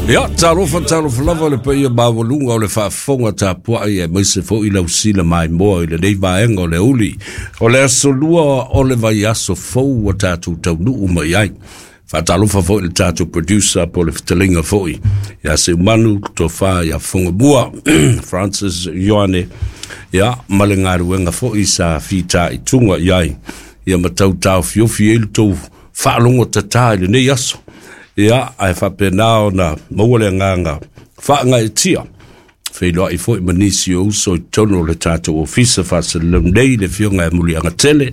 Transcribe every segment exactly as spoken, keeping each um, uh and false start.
Ia, talofa talofa lava le paia maualuga o le faafofoga tapuai aemaise foi le ausila maimoa i lenei vaega o le uli o le aso lua o le vaiaso fou ua tatou taunuu mai ai. Faatalofa foi i le tatou producer po o le fetalaiga foi ia Seumanu Tofa ia Fogamua Francis Ioane, ia ma le galuega foi sa fitaituga i ai ia ma tau taofiofi ai le tou faalogo tatā i lenei aso. Ia, ae faapena ona maua le agaga faagaeetia feiloai foi ma nisi o uso i totonu o le tatou ofisa faasalalau nei, le afioga ia Muliagatele,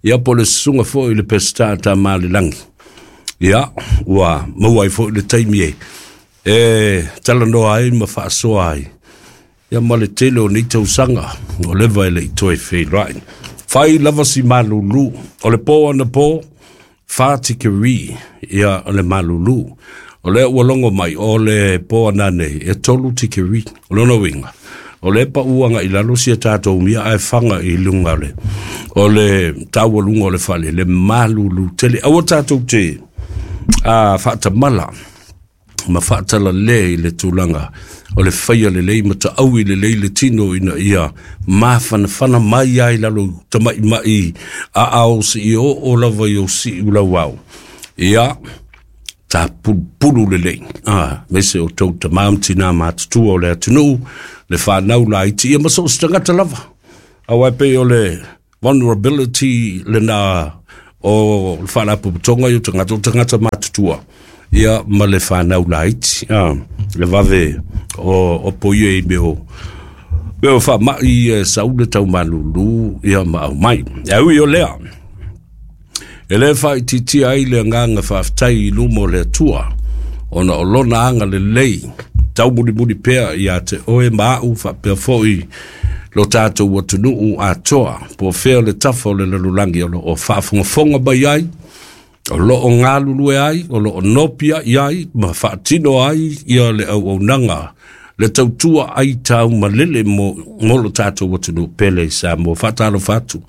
ia po o le susuga foi i le Peseta Tamalelagi. Ia, ua maua ai foi le taimi e e talanoa ai ma faasoa ai, ia ma le tele o nei tausaga o leva e le i toe feiloai. Fai lava si malulu o le po anapo, fa tikeri ia o le malulu. O lea ua logo mai o le po ananei e tolu tikeri. O lona uiga, o lea paua agai i lalo sia tatou mia ae faga i luga o le o le taualuga o le fale le malulu tele. Aua tatou te a faatamala ma faatalale i le tulaga o le faia lelei ma taʻaui lelei le tino ina ia mafanafana mai ai lalo tamaʻimaʻi aao seia oo lava i ou siʻu lauao. Ia tapulupulu lelei a aemaise o tou tamā ma tinā matutua o le atunuu, le fanau laiti, ia ma so o se tagata lava, auā e pei o le vulnerability lena o le faalapotopotoga i o tagata o tagata matutua, ia ma le fanau laiti, a le vave o opoia i mea o mea o faamaʻi e sau le taumalulu ia ma aumai. E ui o lea, e lē faaitiitia ai le agaga faafetai i luma o le Atua ona o lona agalelei taumulimuli pea iā te oe ma aʻu faapea foi lo tatou atunuu atoa, po o fea le tafa o le lalolagi o loo faafogafoga mai ai, o loo galulue ai, o loo nopiai ai ma faatino ai ia le auaunaga, le tautua ai taumalele mo, mo lo tatou atunuu pele i Samoa. Faatalofa atu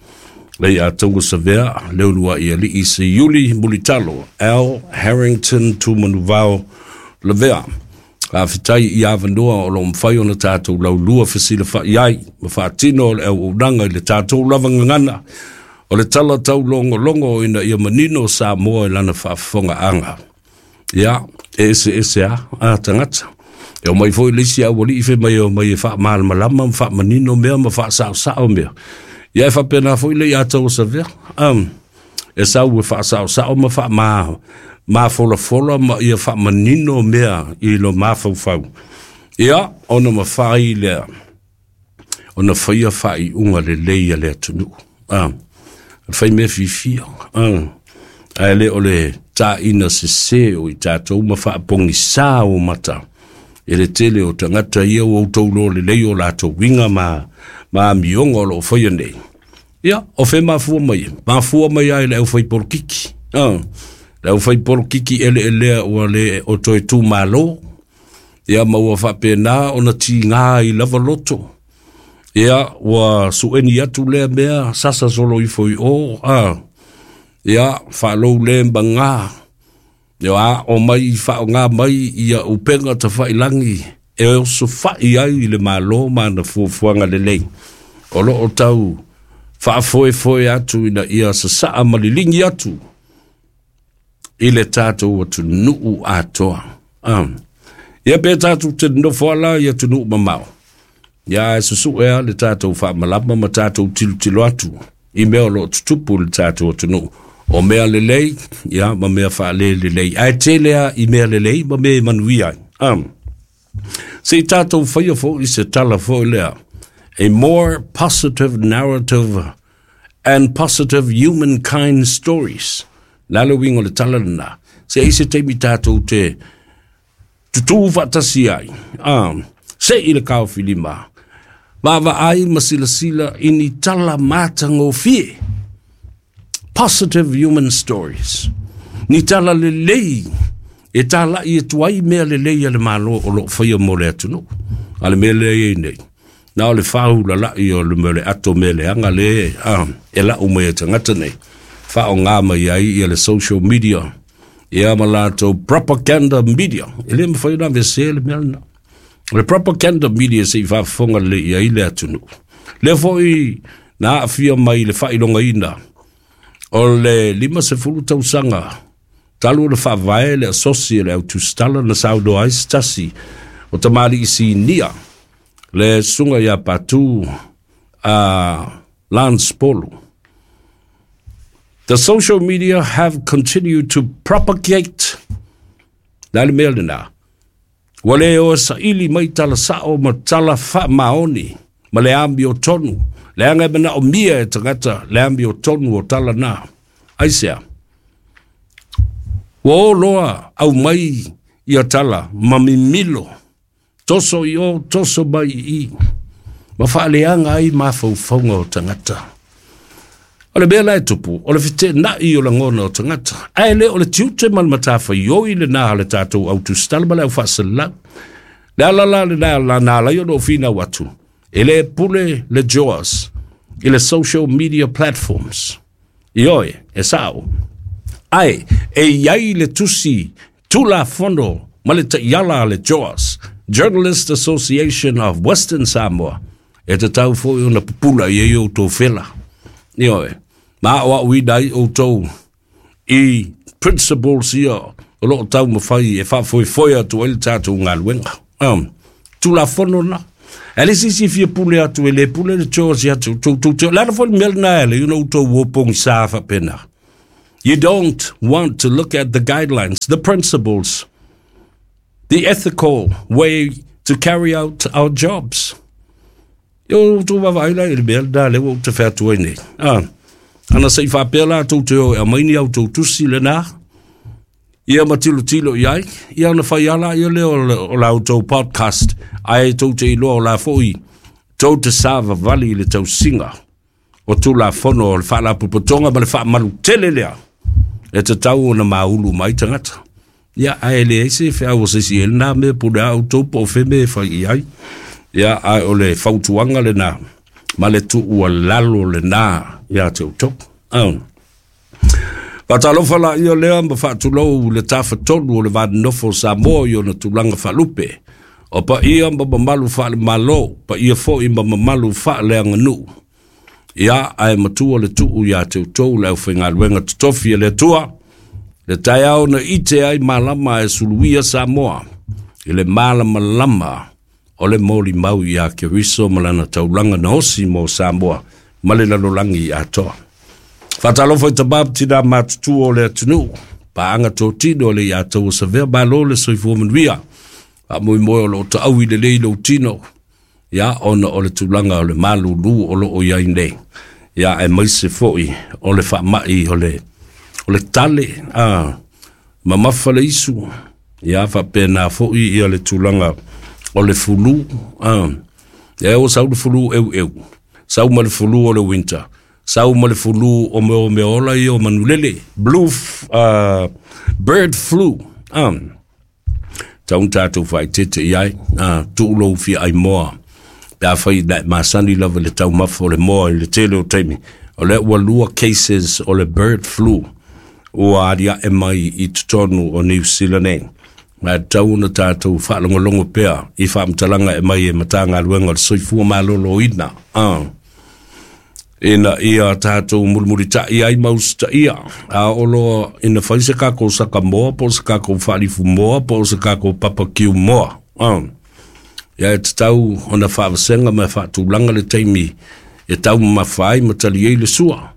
le ia tauga savea le uluai alii Seiuli Mulitalo L Harrington Tumanuvao Lavea. Faafetai i avanoa o loo mafai ona tatou laulua fesilafa'i ai ma faatino o le auaunaga i le tatou lava gagana o le tala taulogologo ina ia manino Samoa i lana faafofogaaga. Ia, e eseese a a tagata. E omai foi le isi aualii fai mai e omai e faamalamalama ma faamanino mea ma faasaosao mea. Ia e faapena foi le ia tau savea. Um, e sau e faasaosao ma faama mafolafola ma ia faamanino mea i lo mafaufau. Ia, ona mafai lea ona faia faaiuga lelei a le atunuu. Ah, fai mea fiafia. Ah, ae le o le taina sesē o i tatou ma faapogisā o mata e le tele o tagata ia ua outou iloa lelei o latou uiga ma ma amioga o loo faia nei. Ia, o fe mafua mai? Mafua mai ai le aufaipolokiki. Ah, le aufaipolokiki eleelea ua le o toe tumālō, ia ma ua faapena ona tigā ai lava loto. Ia, ua suʻeni atu lea mea, sasa solo ifo i o, a ia faalou le magā, ia aʻo mai i faaaogā mai ia upega tafailagi e osofaʻi ai i le Mālō ma ana fuafuaga lelei o loo tau faafoefoe atu ina ia sasaa ma liligi atu i le tatou atunuu atoa. Ah. Ia pe tatou te nofo ala i atunuu mamao, ia e susuʻe a le tatou faamalama ma tatou tilotilo atu i mea o loo tutupu i le tatou atunuu, o mea lelei ia ma mea faalelelei, ae tele a i mea lelei ma mea e manuia ai. Ah. Se i tatou faia foi se tala foi lea, a more positive narrative and positive humankind stories. La le uiga o le tala lena, se i se taimi tatou te tutū faatasi ai, ah, se i le kaofilima vaavaai ma silasila i ni tala matagofie, positive human stories, ni tala lelei e talaʻi atu ai mea lelei a le Mālō o loo faia mo le atunuu. A le mea lea iai nei, na o le fāulalaʻi o le mea o le ato mea leaga le a e laʻu mai e tagata nei faaogā mai ai ia le social media. Ia ma latou propaganda media. E le mafai ona aveesea le mea lena. O le propaganda media se i faafofoga lelei i ai le atunuu. Lea foi na aafia mai le faailogaina o le limasefulu tausaga talu ona faavae le asosi e le autusitala na saunoa ai se tasi o tamalii sinia le susuga ia Patu a Lance Polu. The social media have continued to propagate. Le a le mea lena? Ua le o saili mai tala sao ma tala faamaoni ma le amiotonu. Leaga e manaomia e tagata le amiotonu o tala na. Aisea? Ua o loa aumai ia tala ma mimilo. Toso i o, toso mai i i. Ma faaleaga ai mafaufauga o tagata. O le mea la e tupu, o le feteenai o lagona o tagata. Ae le o le tiute ma le matafaioi lena a le tatou autusitala ma le aufaasalau. Le ala la lena la na ala ai ona ou finau atu. E le pule le J O S i le social media platforms. Ioe, e sao. Ae, e iai le tusi Tulafono ma le taiala a le J O S, Journalist Association of Western Samoa, e tatau foi ona pupula i ai outou fela. Ioe, ma o au ina ai outou i principles ia o loo taumafai e faafoefoe atu ai le tatou galuega. Um, Tulafono na. E le sisi fia pule atu e le pule le J O S atu. Tou, tou, tou, le ala foi le mea lena e le, you know, outou o pogisa faapena. You don't want to look at the guidelines, the principles, the ethical way to carry out our jobs. Yo outou vaavaai la i le mea lena lea ua ou tafe atu ai nei. Ah, ana se i faapea la tou te o e aumai ni au tou tusi lena, ia ma tilotilo i ai, ia ona fai ala ia lea o le, o la outou podcast, ae tou te iloa o la foi tou te savavali i le tausiga o Tulafono o le faalapotopotoga ma le faamalutele lea e tatau ona maulu mai tagata. Ia, ae leai se feau o se isi e lena mea pule a outou po o fea mea e fai i ai. Ia, ae o le fautuaga lena ma le tuualalo lena ia te outou. Um. Faatalofa la ia lea ma faatulou le tafatolu o le vanonofo o Samoa i ona tulaga faalupe. O paia ma mamalu faalemalo, paia foi ma mamalu faaleaganuu. Ia, ae matua le tuu ia te outou le aufaigaluega totofi e le Atua, le taeao na ite ai malama e suluia Samoa, i le malamalama o le molimau ia Keriso ma lana taulaga na osi mo Samoa ma le lalolagi atoa. Faatalofa i tamā ma tinā matutua o le atunuu, paaga totino le ia tau o savea malo le soifua manuia. Faamoemoe o loo taau i lelei lou tino, ia ona o le tulaga o le malulu o loo iai nei. Ia e maise foi o le faamai o le, o le tale, a, mamafa le isu. Ia faapena foi ia le tulaga o le fulu, a, ia o sau le fulu eueu, sau ma le fulu o le winter, sau ma le fulu o mea o mea ola ia o manulele, blue, uh, bird flu, a, tau tatou faaeteete i ai, a, tuulou fia ai moa. Pe a fai na masani lava le taumafa o le moa i le tele o taimi. O lea ua lua cases o le bird flu ua aliae mai i totonu o New Zealand nei. Ma tau ona tatou faalogologo pea i faamatalaga e mai e Matagaluega o le Soifua Maloloina. Ah. Ina ia tatou mulimulita'i ai ma usitaia. A o loa ina fai se kakou saka moa, po o se kakou faalifu moa, po o se kakou papakiu moa. Ah. Ia e tatau ona faavasega ma e faatulaga le taimi e taumamafa ai ma tali ai le sua.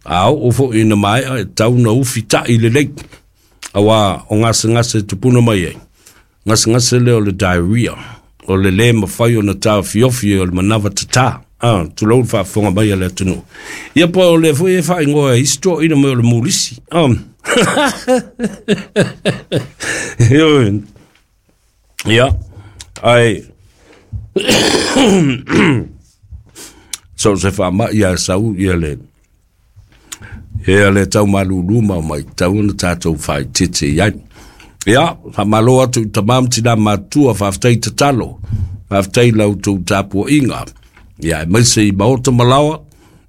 A oo foi ina maea e tatau na ufita'i lelei. Auā o gasegase e tupuna mai ai. Gasegase lea o le diarrhea, o le lē mafai ona taofiofi o le manava tatā. Ah, tulou le faafofoga mai a le atunuu. Ia po o lea foi e faaigoa e isi toeaiina mai o le mulisi. Ah. Ia, ae so se faamai a sau ia le ia le taumalulu ma mai tau ona tatou faaeteete i ai. Ia, faamalo atu i tamā ma tinā matutua, faafetai tatalo, faafetai la outou tapuaiga. Ia, e maise i maota malaoa,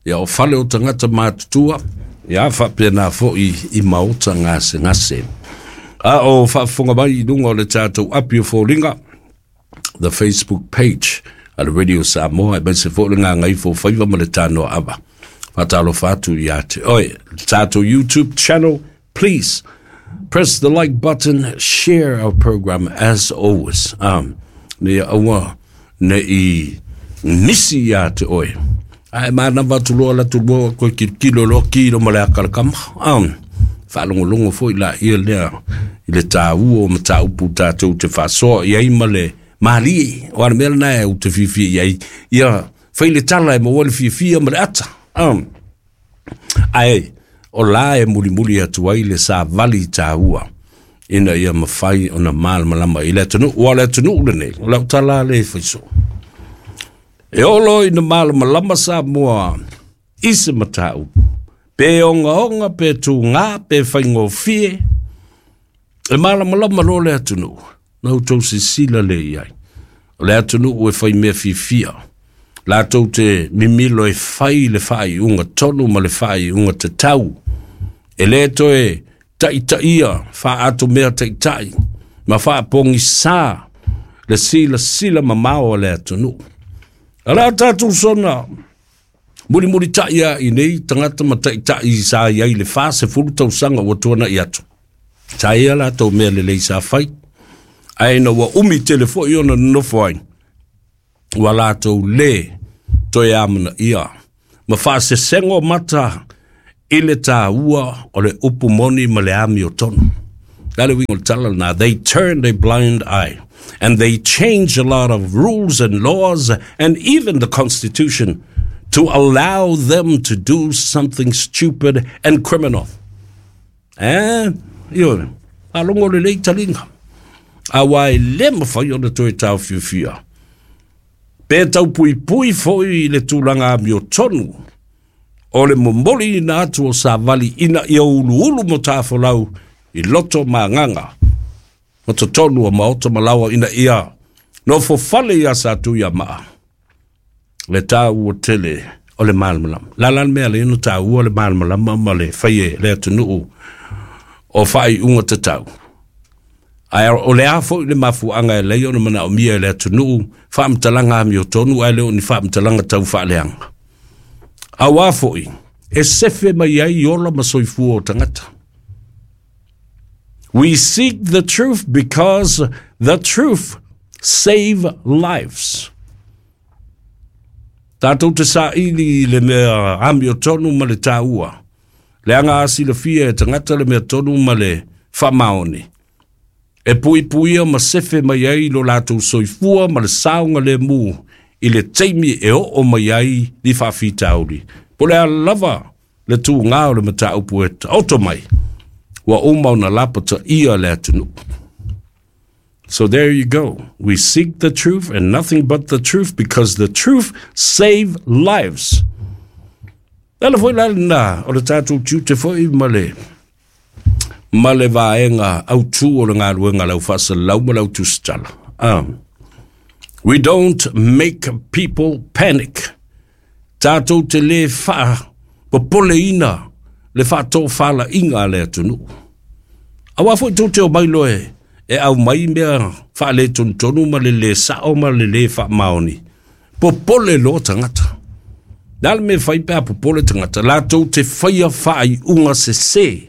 ia o fale o tagata matutua, ia faapena foi i maota gasegase. A o faafofoga mai i luga o le tatou api o foliga, the Facebook page a le Radio Samoa, aemaise foi le Gagaifo Faiva ma le Tanoa Ava. Faatalofa atu ia te oe. Le tatou YouTube channel, please press the like button, share our program as always. Um, ne aua ne i nisi ia te oe. Ae manava atu loa la tulua koe kilokilo loa kilo ma le akalakama. Um, faalogologo foi la ia lea i le tāua o mataupu tatou te faasoa i ai ma le malie. O ana mea lena e ou te fiafia i ai. Ia fai le tala e maua le fiafia ma le ata. Um, ae o la e mulimuli atu ai le savali tāua ina ia mafai ona malamalama i le atunuu. Ua le atunuu lenei, o lau tala le faiso. E olo ina malamalama Samoa i se mataupu, pe ogaoga, pe tugā, pe faigofie, e malamalama loa le atunuu, na outou sisila le i ai. O le atunuu e fai mea fiafia, latou te mimilo e fai le faaiuga tonu ma le faaiuga tatau. E lē toe taitaia faatomea taitai ma faapogisā le silasila mamao a le atunuu. A la tatou sona mulimulitaʻi a i nei tagata ma taitaʻi sa i ai le fasefulu tausaga ua tuanaʻi atu. Sa ia latou mea lelei sa fai, ae ina ua umi tele foʻi ona nonofo ai, ua latou lē toe amanaia ma faasesego mata i le tāua o le upu moni ma le ami o tonu. La le uiga o le tala lena, they turned a blind eye and they changed a lot of rules and laws and even the constitution to allow them to do something stupid and criminal. Eh, ioe, faalogo lelei taliga. Auā e lē mafai ona toe taofiofia. Pe taupuipui foi i le tulaga amiotonu o le momoliina atu o savali ina ia uluulu matafolau i loto ma agaga ma totonu o maota ma laoa ina ia nofofale iā Satuiamaa le tāua tele o le malamalama. La la le mea lea na tāua le malamalama ma le fai e le atunuu o faaiuga tatau. Ae o le a foi le mafuaaga e lei ona manaomia e le atunuu faamatalaga amiotonu ae le o ni faamatalaga tau faaleaga. Auā foi e sefe mai ai ola ma soifua o tagata. We seek the truth because the truth save lives. Tatou te saili i le mea amiotonu ma le tāua. Leaga a silafia e tagata le mea tonu ma le faamaoni, e puipuia ma sefe mai ai lo latou soifua ma le saogalēmū i le taimi e oo mai ai ni faafitauli. Po le a lava le tugā o le mataupu e taoto mai, ua uma ona lapataia le atunuu. So there you go. We seek the truth and nothing but the truth because the truth save lives. Le ala foi la lena o le tatou tiute foi ma le ma le vaega autū o le galuega lau faasalalau ma lau tusitala. Um, we don't make people panic. Tatou te lē faapopoleina le faatofalaiga a le atunuu. Auā foi tou te omai loa e e aumai mea faaletonu ma le lē sao ma le lē faamaoni. Popole loa tagata. Le a le mea fai pe a popole tagata, latou te faia faaiuga sesē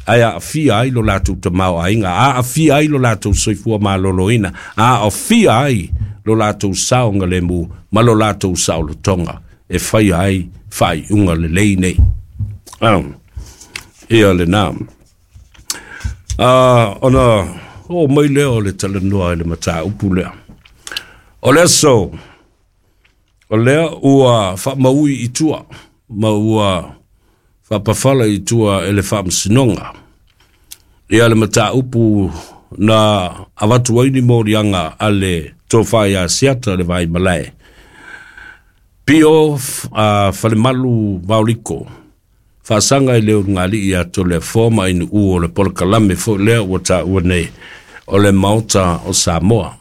ae aafia ai lo latou tamaoaiga, aafia ai lo latou soifua malōlōina, aafia ai lo latou saogalēmū ma lo latou saolotoga e faia ai faaiuga lelei nei. Um, ia lenā. Uh, ona oo mai lea o le talanoa i le mataupu lea. O le aso, o lea ua faamaui i tua, ma ua faapafala i tua e le faamasinoga. Ia le mataupu na avatu ai ni moliaga a le tofa ia Asiata le Vaimalae. Pio uh, Falemalu Vaoliko, faasaga i le ulugalii ia Toleafoa ma Ainuu o le polokalame foi lea ua taua nei o le Maota o Samoa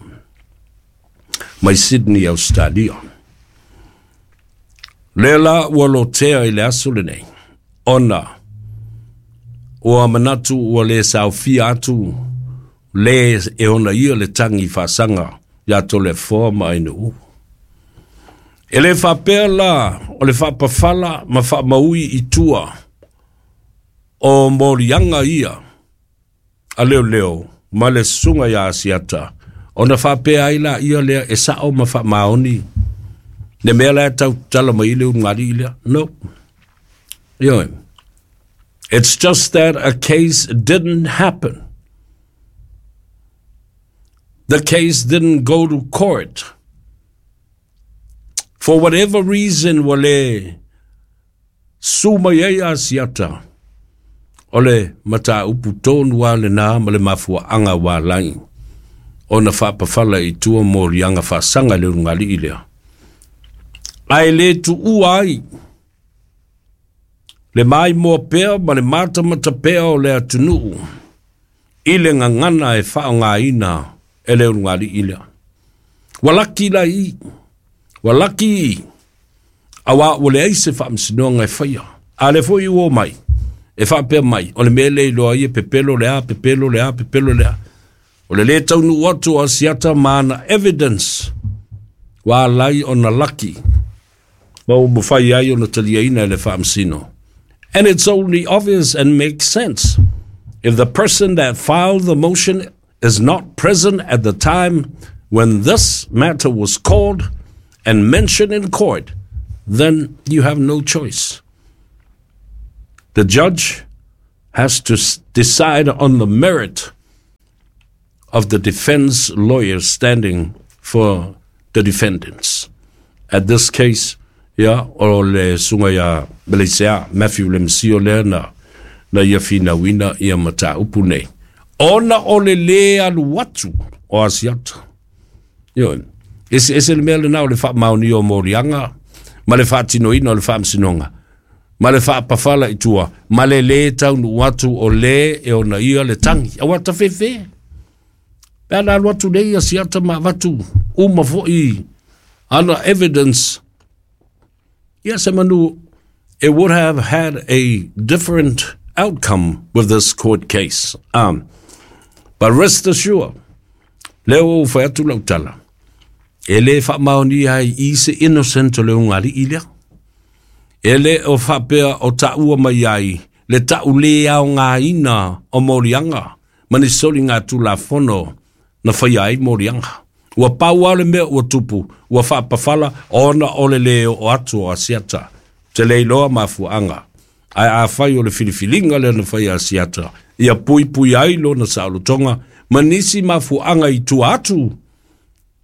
mai Sydney, Australia. Lea la ua lotea i le aso lenei, ona Ua manatu ua le saofia atu le e ona ia le tagi faasaga iā Toleafoa ma Ainuu. E le faapea la o le faapafala ma faamaui i tua o moliaga ia a leoleo ma le susuga iā Asiata ona faapea ai laia lea e sao ma faamaoni le mea la e tautala mai i le ulugalii lea. No. Ioe. It's just that a case didn't happen. The case didn't go to court. For whatever reason ua le su mai ai Asiata, o le mataupu tonu lava lenā ma le mafuaaga ua ala ai ona faapafala i tua moliaga faasaga i le ulugalii lea. Ae le tuua ai le maimoa pea ma le matamata pea o le atunuu i le gagana e faaaogaina e le ulugalii lea. Ua laki la i, ua laki i, auā ua leai se faamasinoga e faia. A lea foi ua omai, e faapea mai, o le mea lea e iloa ai e pepelo le a, pepelo le a, pepelo le a. O le lē taunuu atu o Asiata ma ana evidence ua ala ai ona laki ma ua mafai ai ona taliaina e le faamasino. And it's only obvious and makes sense if the person that filed the motion is not present at the time when this matter was called and mentioned in court, then you have no choice. The judge has to decide on the merit of the defense lawyer standing for the defendants. At this case, ia, o le susuga ia Meleisea, Matthew Lemesio lea na, na ia finauina ia mataupu nei. Ona o le lē alu atu o Asiata. Ioe, eseese le mea lenā o le faamaonia o moliaga ma le faatinoina o le faamasinoga ma le faapafala i tua ma le lē taunuu atu o lē e onaia le tagi. Auā tafefe. Pe a na alu atu nei Asiata ma avatu uma foi ana evidence, ia semanu it would have had a different outcome with this court case. Um, but rest assured, lea ua ou fai atu lau tala, e lē faamaonia ai i se innocent o le ulugalii lea. E le o faapea o taua mai ai le tau lē aogaina o moliaga ma ni soligatulafono na faia ai moliaga. Ua pau lava le mea ua tupu, ua faapafala ona o le lē oo atu o Asiata. Ou te le iloa mafuaaga, ae afai o le filifiliga lea na faia e Asiata, ia puipui ai lona saolotoga ma nisi mafuaaga i tua atu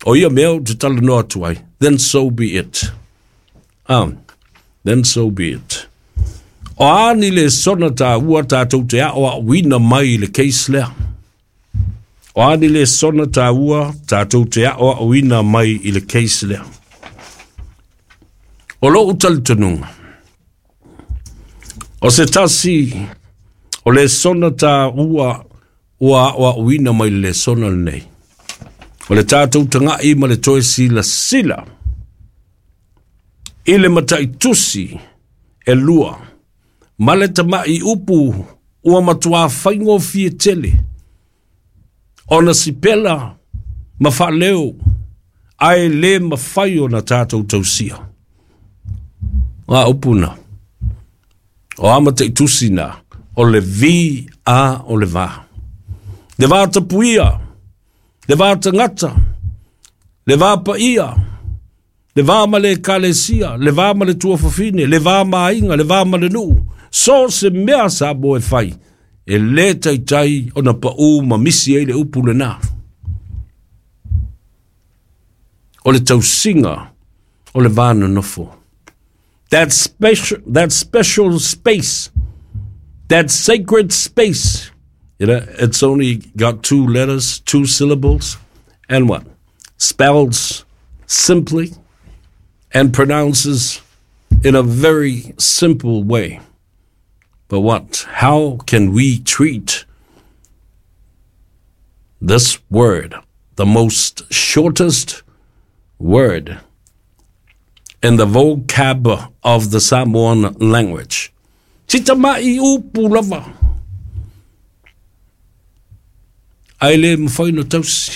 o ia mea ou te talanoa atu ai, then so be it. Um, then so be it. O a ni lesona taua tatou te aoaoina mai i le case lea? O a ni lesona taua tatou te aoaoina mai i le case lea? O lou talitonuga, o se tasi o lesona taua ua aoaoina mai le lesona lenei, o le tatou tagai ma le toe silasila i le mataitusi e lua ma le tamai upu ua matuā faigofie tele ona sipela ma faaleo ae lē mafai ona tatou tausia. O a upu na? O a mataitusi na? O le V A o le va. Le va tapuia, le va tagata, le va paia, le va ma le ekalesia, le va ma le tuafafine, le va ma aiga, le va ma le nuu. So se mea Samoa e fai, e lē taitai ona paū ma misi ai le upu lenā. O le tausiga o le va nonofo. That special, that special space, that sacred space, you know, it's only got two letters, two syllables, and what? Spells simply and pronounces in a very simple way. But what? How can we treat this word, the most shortest word in the vocab of the Samoan language? Si tama'i upu lava. Ae le mafai ona tausi.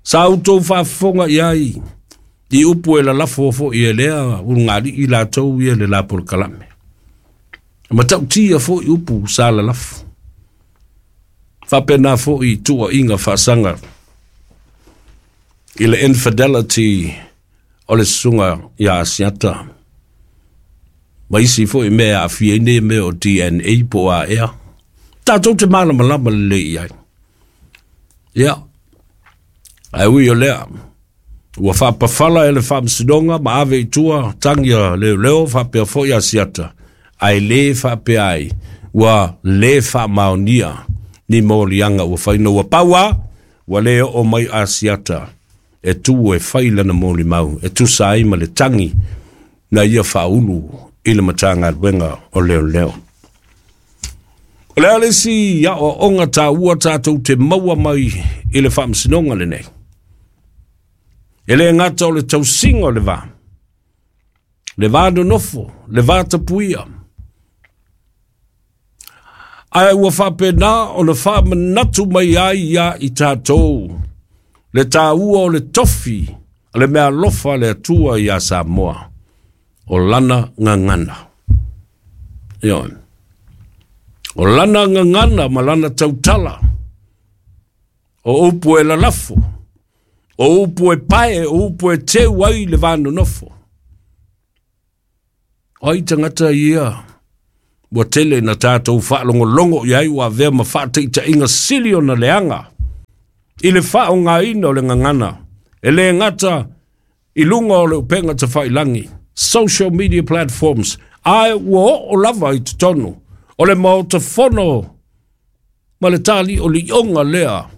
Sa outou faafofoga i ai i upu e lalafo fo'i e lea ulugalii latou ia le la polokalame. Matautia fo'i upu sa lalafo. Faapena fo'i tuua'iga faasaga i le infidelity o le susuga iā Asiata ma isi fo'i mea e aafia ai nei mea o D N A po o a ea. Tatou te malamalama lelei i ai. Ia, ae ui o lea, ua faapafala e le faamasinoga ma ave i tua tagi a leoleo faapea fo'i Asiata, ae lē faapea ai ua lē faamaonia ni moliaga ua faina ua pau a ua lē oo mai Asiata e tu e fai lana molimau e tusa ai ma le tagi na ia faaulu i le Matagaluega o Leoleo. O le a le isi aoaoga taua tatou te maua mai i le faamasinoga lenei? E lē gata o le tausiga o le va, le va nonofo, le va tapuia, ae ua faapena ona faamanatu mai ai ia i tatou le taua o le tofi le mea alofa le Atua iā Samoa o lana gagana. Ioe. O lana gagana ma lana tautala. O upu e lalafo, o upu e pae, o upu e teu ai le va nonofo. O ai tagata ia ua tele na tatou faalogologo i ai ua avea ma faataitaiga sili ona leaga i le faaaogāina o le gagana e lē gata i luga o le upega tafailagi, social media platforms, ae ua oo lava i totonu o le maota fono ma le taliʻoliʻoga lea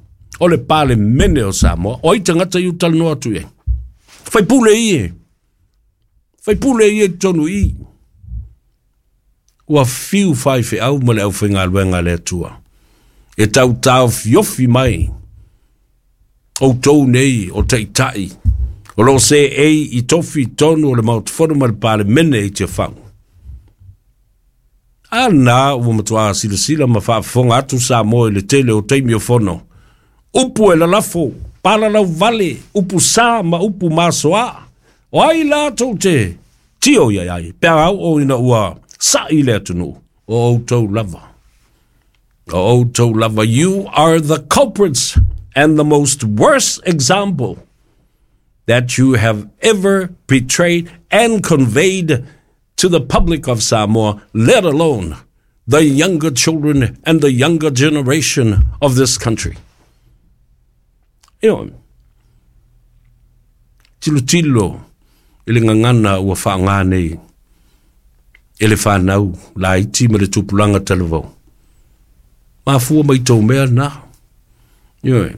o le Palemene o Samoa? O ai tagata i utalanoa atu i ai? Faipule ie, faipule ia i totonu i ua fiu faifeau ma le aufaigaluega a le Atua e tautaofiofi mai outou nei o taʻitaʻi o loo seei i tofi tonu o le maota fono ma le Palemene i Tiafau. A na ua matuā silasila ma faafofoga atu Samoa i le tele o taimi o fono. Upu e lalafo, palalau vale, upu sā ma upu masoā. O ai latou te tio ia ai pe a oo ina ua sa'i le atunuu? O outou lava. O outou lava. You are the culprits and the most worst example that you have ever betrayed and conveyed to the public of Samoa, let alone the younger children and the younger generation of this country. You know, tilotilo i le gagana ua faaaogā nei e le fanau laiti ma le tupulaga talavou. Mafua mai tou mea na. Ioe.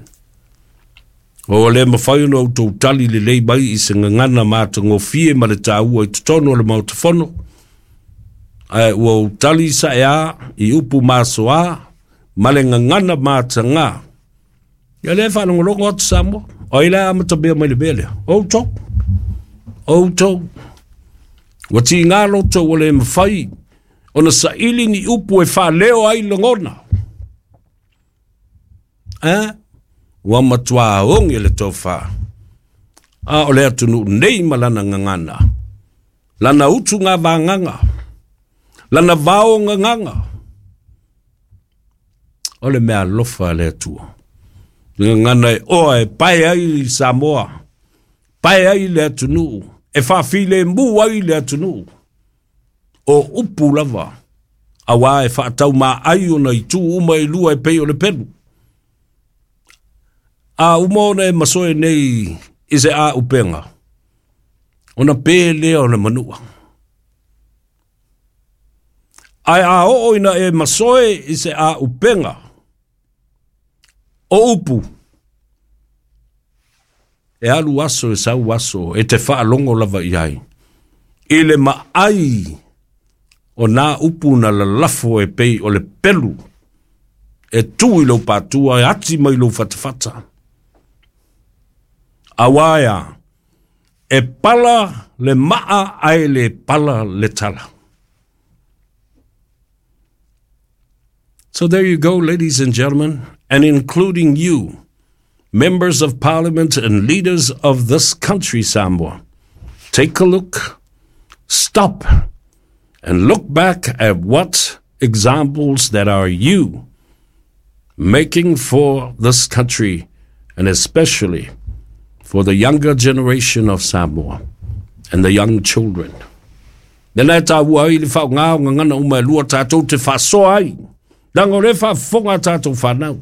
O le mafai ona outou tali lelei mai i se gagana matagofie ma le taua i totonu o le maota fono. Ae ua ou tali saʻe i upu masoā ma le gagana matagā. Ia lea faalogologo atu Samoa. O ai la amatamea mai le mea lea? Outou. Outou. Ua tigā loto ua le mafai ona saili ni upu e faaleo ai lagona. Eh? Ua matuā oge le tofā. A o le atunuu nei ma lana gagana. Lana utu ngā vānganga. Lana vao gagaga. O le mea alofa le Atua. Gagana e oa e pae ai i Samoa. Pae ai le atunuu. E faafilemu ai le atunuu. O upu lava. Auā e faataumaai ona itu uma e lua e pei o le pelu. A uma ona e masoe nei i se a upenga. Ona pe lea o le manua. Ae a oo ina e masoe i se a upenga. O upu. E alu aso e sau aso e te faalogo lava i ai. I le maai o nā upu na lalafo e pei o le pelu. E tu i lou patua e ati mai lou fatafata. Auā e a, e pala le maa ae le pala le tala. So there you go, ladies and gentlemen, and including you. members of parliament and leaders of this country, Samoa, take a look, stop, and look back at what examples that are you making for this country, and especially for the younger generation of Samoa and the young children. Lena e tāua ai le faaaogā o gagana uma e lua tatou te faasoa ai. Leaga o lea e faafofoga a tatou fanau.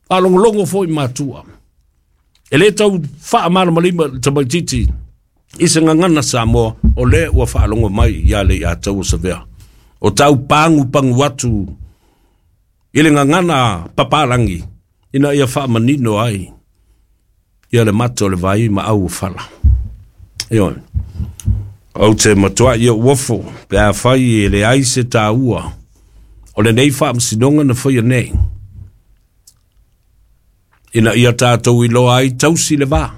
Faalogologo foi matua. E lē tau faamalamalima le tamaititi i se gagana Samoa o lea ua faalogo mai ia le ia tau o savea. O tau pagu pagu atu i le gagana papalagi ina ia faamanino ai ia le mata o le vai ma au o fala. Ioe. Ou te matuai ia uofo pe afai e leai se taua o lenei faamasinoga na faia nei. Ina ia tatou iloa ai tausi le va.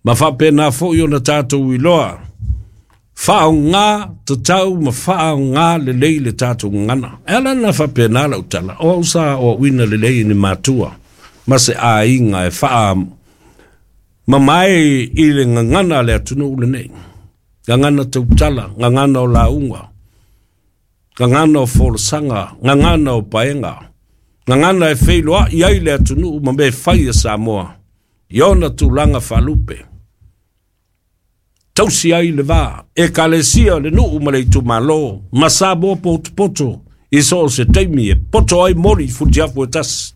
Ma faapena foi ona tatou iloa faaaogā tatau ma faaaogā lelei le tatou gagana. E ala na faapena lau tala, o au sa aoaoina lelei e ni matua ma se aiga e faa mamae i le gagana a le atunuu lenei. Gagana tautala, gagana o lauga, gagana o folasaga, gagana o paega, gagana e feiloai ai le atunuu ma mea fai a Samoa i ona tulaga faalupe. Tausi ai le va, ekalesia le nuu ma le itumalo, ma Samoa potopoto i so o se taimi e poto ai moli i futiafu e tasi.